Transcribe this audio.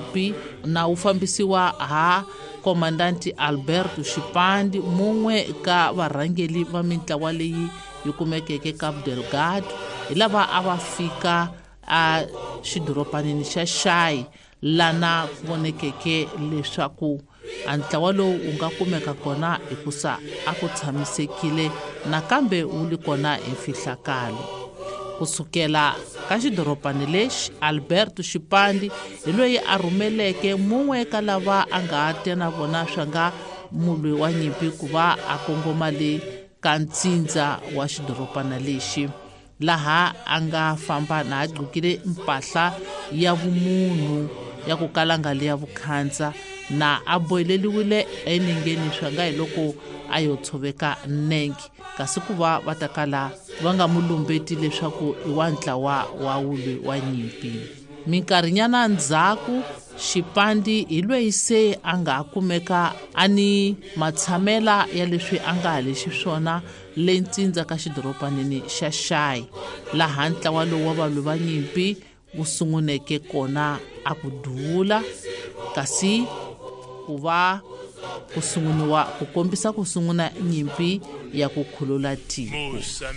nyimpi na wu fambisiwa ha Komandanti Alberto Xipandi, mun'we ka varhangeli va mintlawa leyi yi kumekeke Cabo Delgado, hi lava a va fika a xidoropanini xa Xayi, lana ku vonekeke leswaku a ntlawa lowu wu nga kumeka kona hikusa a ku tshamisekile nakambe wu li kona hi mfihlakalo. Kusukela ka xidorobani lexi, Alberto Xipandi hi loyi a rhumeleke mun'we ka lava a nga tya na vona swa nga mulwi wa nyimpi ku va a kongoma le ka ntsindza wa xidorobana lexi, laha a nga famba na a gqokile mpahla ya vumunhu ya ku kala nga liya vukhandza, na a boheleliwile enengeni swa nga hi loko a yo tshoveka nenge, kasi ku va va ta kala va nga mu lumbeti leswaku i wa ntlawa wa wulwi wa nyimpi. Minkarhinyana ndzhaku, Xipandi hi lweyi se a nga kumeka a ni matshamela ya leswi a nga ha lexi swona le ntsindza ka xidoropanini xa Xayi, laha ntlawa lowu wa valwi va nyimpi wu sunguneke kona a ku duvula, kasi ku va ku sunguniwa ku kombisa ku sunguna nyimpi ya ku khulula tiko.